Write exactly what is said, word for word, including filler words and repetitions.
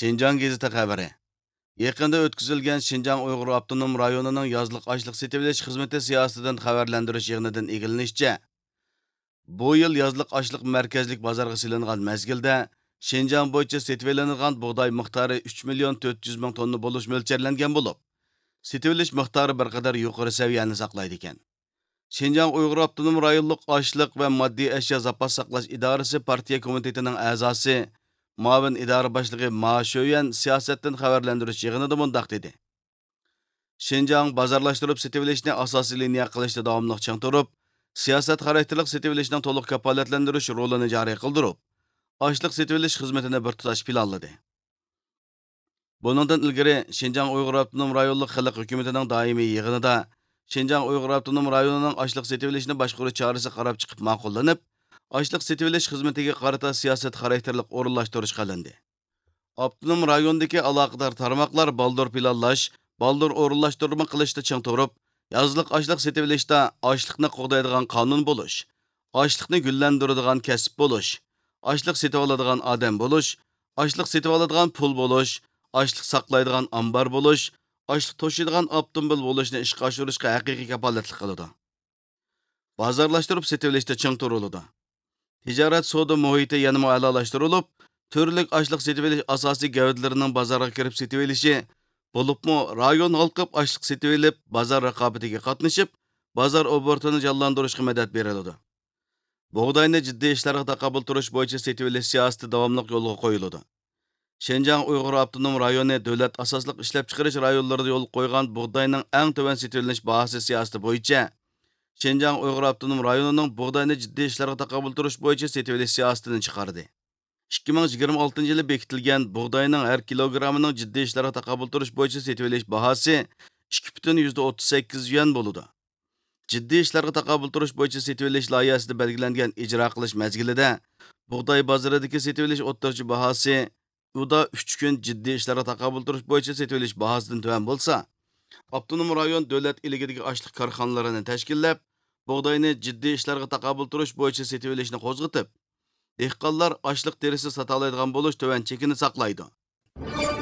شىنجاڭ گېزىتى خەۋىرى. يېقىندا ئۆتكۈزۈلگەن شىنجاڭ ئۇيغۇر ئاپتونوم رايونىنىڭ يازلىق ئاشلىق سېتىۋېلىش خىزمىتى سىياسىتىدىن خەۋەرلەندۈرۈش يىغىنىدىن ئىگىلىنىشىچە، بۇ يىل يازلىق ئاشلىق مەركەزلىك بازارغا سېلىنغان مەزگىلدە شىنجاڭ بويىچە سېتىۋېلىنىدىغان بۇغداي مىقدارى ئۈچ مىليون تۆت يۈز مىڭ توننا بولۇش مۆلچەرلەنگەن بولۇپ، سېتىۋېلىش مىقدارى بىر قەدەر يۇقىرى سەۋىيەنى ساقلايدىكەن. شىنجاڭ ئۇيغۇر ئاپتونوم رايونلۇق ئاشلىق ۋە ماددىي ئەشيا زاپاس ساقلاش ئىدارىسى پارتىيە كومىتېتىنىڭ ئەزاسى، مۇئاۋىن ئىدارە باشلىقى ما شۆيۈەن سىياسەتتىن خەۋەرلەندۈرۈش يىغىنىدا مۇنداق دېدى: شىنجاڭ بازارلاشتۇرۇپ سېتىۋېلىشنى ئاساسىي لىنىيە قىلىشتا داۋاملىق چىڭ تۇرۇپ، سىياسەت خاراكتېرلىق سېتىۋېلىشنىڭ تولۇق كاپالەتلەندۈرۈش رولىنى جارى قىلدۇرۇپ، ئاشلىق سېتىۋېلىش خىزمىتىنى بىر تۇتاش پىلانلىدى. بۇنىڭدىن ئىلگىرى، شىنجاڭ ئۇيغۇر ئاپتونوم رايونلۇق خەلق ھۆكۈمىتىنىڭ دائىمىي يىغىنىدا شىنجاڭ ئۇيغۇر ئاپتونوم رايونىنىڭ ئاشلىق سېتىۋېلىشنى باشقۇرۇش چارىسى قاراپ چىقىپ ماقۇللىنىپ، ئاشلىق سېتىۋېلىش خىزمىتىگە قارىتا سىياسەت خاراكتېرلىق ئورۇنلاشتۇرۇش قىلىندى. ئاپتونوم رايوندىكى ئالاقىدار تارماقلار بالدۇر پىلانلاش، بالدۇر ئورۇنلاشتۇرما قىلىشتا چىڭ تۇرۇپ، يازلىق ئاشلىق سېتىۋېلىشتا ئاشلىقنى قوغدايدىغان قانۇن بولۇش، ئاشلىقنى گۈللەندۈرىدىغان كەسىپ بولۇش، ئاشلىق سېتىۋالىدىغان ئادەم بولۇش، ئاشلىق سېتىۋالىدىغان پۇل بولۇش، ئاشلىق ساقلايدىغان ئامبار بولۇش، ئاشلىق توشۇيدىغان ئاپتوموبىل بولۇشنى ئىشقا ئاشۇرۇشقا ھەقىقىي كاپالەتلىك قىلىدۇ. بازارلاشتۇرۇپ سېتىۋېلىشتا چىڭ تۇرۇلىدۇ. تىجارەت سودا مۇھىتى يەنىمۇ ئەلالاشتۇرۇلۇپ، تۈرلۈك ئاشلىق سېتىۋېلىش ئاساسىي گەۋدىلىرىنىڭ بازارغا كىرىپ سېتىۋېلىشى، بولۇپمۇ رايون ھالقىپ ئاشلىق سېتىۋېلىپ، بازار رىقابىتىگە قاتنىشىپ، بازار ئوبوروتىنى جانلاندۇرۇشقا مەدەت بېرىلىدۇ. بۇغداينى جىددىي ئىشلارغا تاقابىل تۇرۇش بويىچە سېتىۋېلىش سىياسىتى داۋاملىق يولغا قويۇلىدۇ. شىنجاڭ ئۇيغۇر ئاپتونوم رايونى دۆلەت ئاساسلىق ئىشلەپچىقىرىش رايونلىرىدا يولغا قويغان بۇغداينىڭ ئەڭ تۆۋەن سېتىۋېلىنىش باھاسى سىياسىتى بويىچە شىنجاڭ ئۇيغۇر ئاپتونوم رايونىنىڭ بۇغداينى جىددىي ئىشلارغا تاقابىل تۇرۇش بويىچە سېتىۋېلىش سىياسىتىنى چىقاردى. ئىككى مىڭ يىگىرمە ئالتىنچى يىلى بېكىتىلگەن بۇغداينىڭ ھەر كىلوگراممىنىڭ جىددىي ئىشلارغا تاقابىل تۇرۇش بويىچە سېتىۋېلىش باھاسى ئىككى پۈتۈن يۈزدە ئوتتۇز سەككىز يۈەن بولىدۇ. جىددىي ئىشلارغا تاقابىل تۇرۇش بويىچە سېتىۋېلىش لايىھەسىدە بەلگىلەنگەن ئىجرا قىلىش مەزگىلىدە بۇغداي بازىرىدىكى سېتىۋېلىش ئوتتۇرىچە باھاسى ئۇدا ئۈچ كۈن جىددىي ئىشلارغا تاقابىل تۇرۇش بويىچە سېتىۋېلىش باھاسىدىن تۆۋەن بولسا، ئاپتونوم رايون دۆلەت ئىلكىدىكى ئاشلىق كارخانىلىرىنى تەشكىللەپ، بۇغداينى جىددىي ئىشلارغا تاقابىل تۇرۇش بويىچە سېتىۋېلىشنى قوزغىتىپ، دېھقانلار ئاشلىق تېرىسى ساتالايدىغان بولۇش تۆۋەن چېكىنى ساقلايدۇ.